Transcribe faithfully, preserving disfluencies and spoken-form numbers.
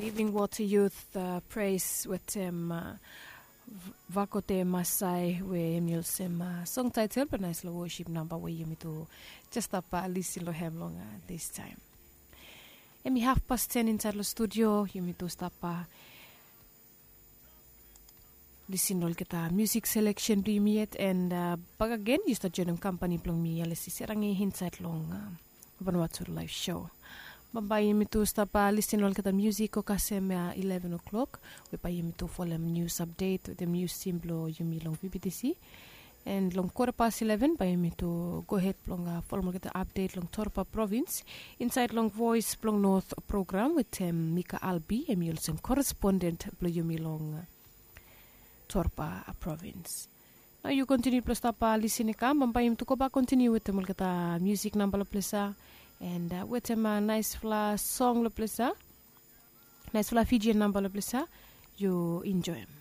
Living Water Youth, uh, praise wetem uh, vakote masai we em yolsem uh, song title, but nice lo worship number we yumi tu just up uh, listen lo hem long uh, this time. Em i half past ten inside lo studio, yumi tu stop uh, listen lo olgeta music selection blo yumi yet, and uh, back again you start joining company blong mi Alesi Serangi inside long uh, Vanuatu live show. Bambae yumi tu stap uh, listen lo olgeta music o kasem uh, eleven o'clock we bae yumi tu folem news update wetem news team blo yumi long V B T C. And long quarter past eleven bae yumi tu go ahead blong uh, folem olgeta update long Torpa province inside long Voice blong North program wetem Mika Albi, em i olsem correspondent blo yumi long uh, Torpa uh, province. Nao yu kontiniu blo stap uh, listen i kam, bambae yumi tu go bak kontiniu wetem olgeta music namba lo ples ya, and uh, wetem uh, nice fla song lo ples ya, nice fla Fijian namba lo ples ya. Yu enjoy em.